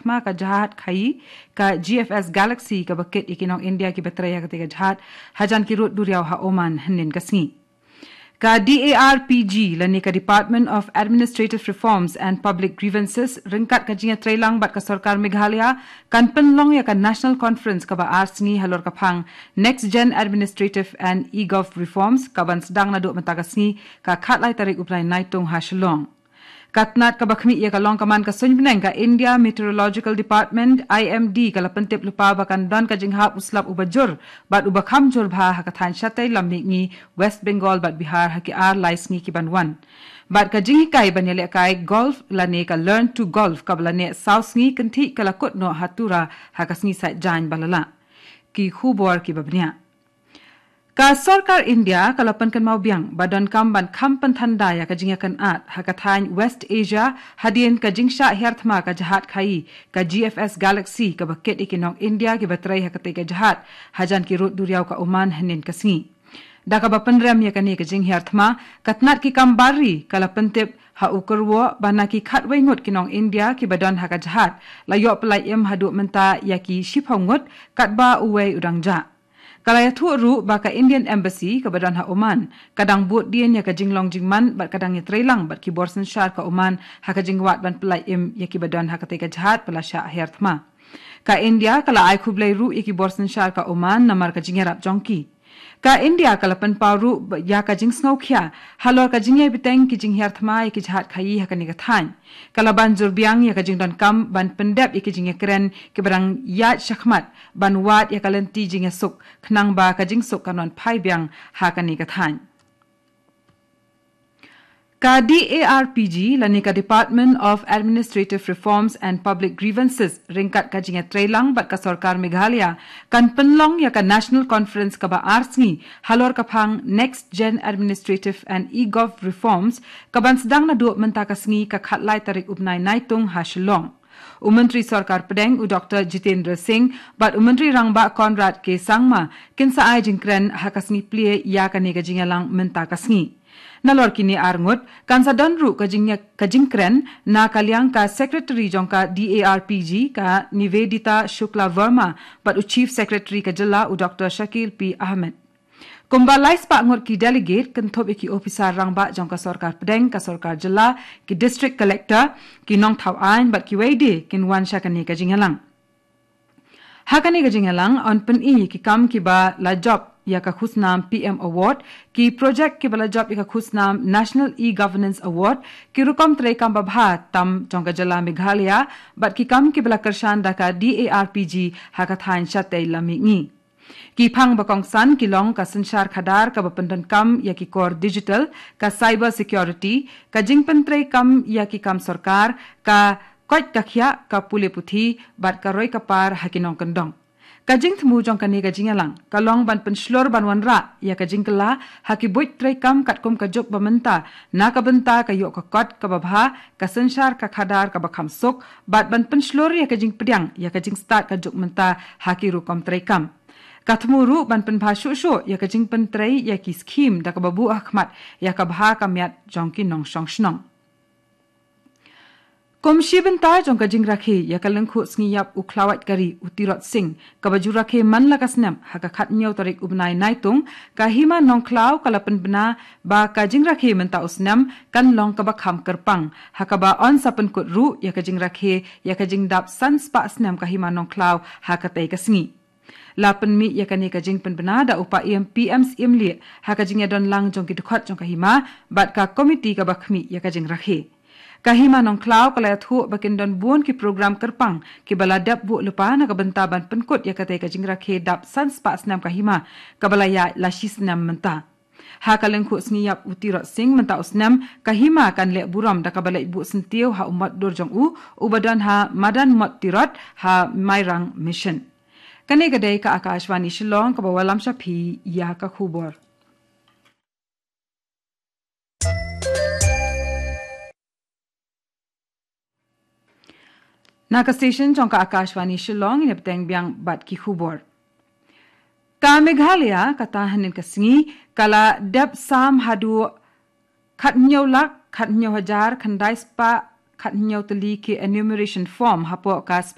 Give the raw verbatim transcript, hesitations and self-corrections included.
thma ka jahaj khaii ka G F S Galaxy kaba kit ïa ki nong India kiba trei ha katei ka jahaj hajan ki rud duriaw ha Oman hynnin ka sngi. Ka D A R P G lane ka Department of Administrative Reforms and Public Grievances ryngkat ka jingïatreilang bad ka sorkar Meghalaya kan pynlong ïa ka National Conference kaba ar sngi halor ka phang Next Gen Administrative and eGov Reforms kaban sdang naduh mynta ka sngi ka khatlai tarik u bnai Naitung ha Shillong. Ka tnat kaba khmih ïa ka long ka man ka suiñbneng ka India Meteorological Department, I M D, ka la pyntip lypa ba kan don ka jinghap u slap uba jur bad uba kham jur bha ha ka thaiñ shatei lam mihngi West Bengal bad Bihar ha ki ar lai sngi ki ban wan. Bad ka jinghikai ban ïalehkai golf lane ka Learn to Golf kaba la neh saw sngi kynthih ka la kut noh ha Tura ha ka sngi Saitjaiñ ba la lah. Ki khubor kiba bniah. Ka sorkar India ka la pynkynmaw biang ba donkam ban kham pynthandai ïa ka jingïakynad ha ka thaiñ West Asia hadien ka jingshah hiar thma ka jahaj khaii ka G F S Galaxy kaba kit ïa ki nong India kiba trei ha katei ka jahaj hajan ki rud duriaw ka Oman hynnin ka sngi. Da kaba pynrem ïa kane ka jinghiar thma, ka tnat ki kam bar ri ka la pyntip ha u kyrwoh ba na ki khatwei ngut ki nong India kiba don ha ka jahaj la ïoh pyllait im haduh mynta ïa ki shiphew ngut katba uwei u dang jah. Ka la ïathuh ruh ba ka Indian Embassy kaba don ha Oman ka dang bud dien ïa ka jinglong jingman bad ka dang ïatreilang bad ki bor synshar ka Oman ha ka jingwad ban pyllait im ïa kiba don ha katei ka jahaj ba la shah hiar thma. Ka India ka la ai khublei ruh ïa ki bor synshar ka Oman namar ka jingïarap jong ki. Ka India ka la pynpaw ruh ba ïa ka jingsngewkhia halor ka jingïai bteng ki jinghiar thma ïa ki jahaj khaii ha kane ka thaiñ. Ka la ban jur biang ïa ka jingdonkam ban pyndep ïa ki jingïakren kiba dang ïaid shakhmat ban wad ïa ka lynti jingïasuk khnang ba ka jingsuk kan wan phai biang ha kane ka thaiñ. Ka D A R P G lane ka Department of Administrative Reforms and Public Grievances ryngkat ka jingïatreilang bad ka sorkar Meghalaya kan pynlong ïa ka National Conference kaba ar sngi halor ka phang Next Gen Administrative and eGov Reforms kaban sdang naduh mynta ka sngi ka khatlai tarik u bnai Naitung ha Shillong. U Myntri Sorkar Pdeng u Doktor Jitendra Singh bad u Myntri Rangbah Conrad K Sangma kin sa ai jingkren ha ka sngi plie ïa kane ka jingïalang mynta ka sngi. Nalor kine ar ngut kan sa don ruh ka jing ka jingkren na ka liang ka Secretary jong ka D A R P G ka Nivedita Shukla Verma bad u Chief Secretary ka jylla u Doktor Shakil P Ahmed. Kumba lai spah ngut ki delegate kynthup ïa ki ophisar rangbah jong ka sorkar pdeng, ka sorkar jylla, ki district collector, ki nongthaw aiñ bad kiwei de kin wan sha kane ka jingïalang. Ha kane ka jingïalang yn pyni ïa ki kam kiba la jop ïa ka khusnam P M Award, ki project kiba la jop ïa ka khusnam National E-Governance Award, ki rukom treikam babha tam jong ka jylla Meghalaya bad ki kam kiba la kyrshan da ka D A R P G ha ka thaiñ shatei lam mihngi. Ki phang ba kongsan ki long ka synshar khadar kaba pyndonkam ïa ki kor digital, ka cyber security, ka jingpyntreikam ïa ki kam sorkar, ka koit ka khiah, ka pule puthi bad ka roi ka par ha ki nongkyndong. Ka jingthmu jong kane ka jingïalang ka long ban pynshlur ban wanrah ïa ka jingkylla ha ki buit treikam katkum ka juk ba mynta na ka bynta ka ïoh ka kot kaba bha, ka synshar ka khadar kaba kham suk bad ban pynshlur ïa ka jingpdiang ïa ka jingstad ka juk mynta ha ki rukom treikam. Ka thmu ruh ban pynbha shuh shuh ïa ka jingpyntrei ïa ki skhim da kaba buh ha khmat ïa ka bha ka miat jong ki nongshong shnong. Kum shi bynta jong ka jingrakhe ïa ka lyngkhuh sngi ïap u khlawait kari u Tirot Sing kaba ju rakhe man la ka snem ha ka khathynñiew tarik u bnai Naitung, ka Hima Nongkhlaw ka la pynbna ba ka jingrakhe mynta u snem kan long kaba kham kyrpang ha kaba yn sa pynkut ruh ïa ka jingrakhe ïa ka jingdap san spah snem ka Hima Nongkhlaw ha katei ka sngi. La pynmih ïa kane ka jingpynbna da u Paiem P M Syiemlieh ha ka jingïadon lang jong ki dkhot jong ka hima bad ka komiti kaba khmih ïa ka jingrakhe. Ka Hima Nongkhlaw ka la ïathuh ba kin don bun ki program kyrpang kiba la dep buh lypa na ka bynta ban pynkut ïa katei ka jingrakhe dap san spah snem ka hima kaba la ïaid la shi snem mynta. Ha ka lyngkhuh sngi ïap u Tirot Sing mynta u snem, ka hima kan leh burom da kaba leit buh syntiew ha u mot dur jong u uba don ha Madan Mot Tirot ha Mairang Mission. Kane ka dei ka Akashvani Shillong kaba wallam sha phi ïa ka khubor. Na ka station jong ka Akashvani Shillong, ïa bteng biang bad ki khubor. Ka Meghalaya kata hynnin ka sngi ka la dep sam haduh khathynñiew lak khathynñiew hajar khyndai spah khathynñiew tylli ki enumeration form hapoh ka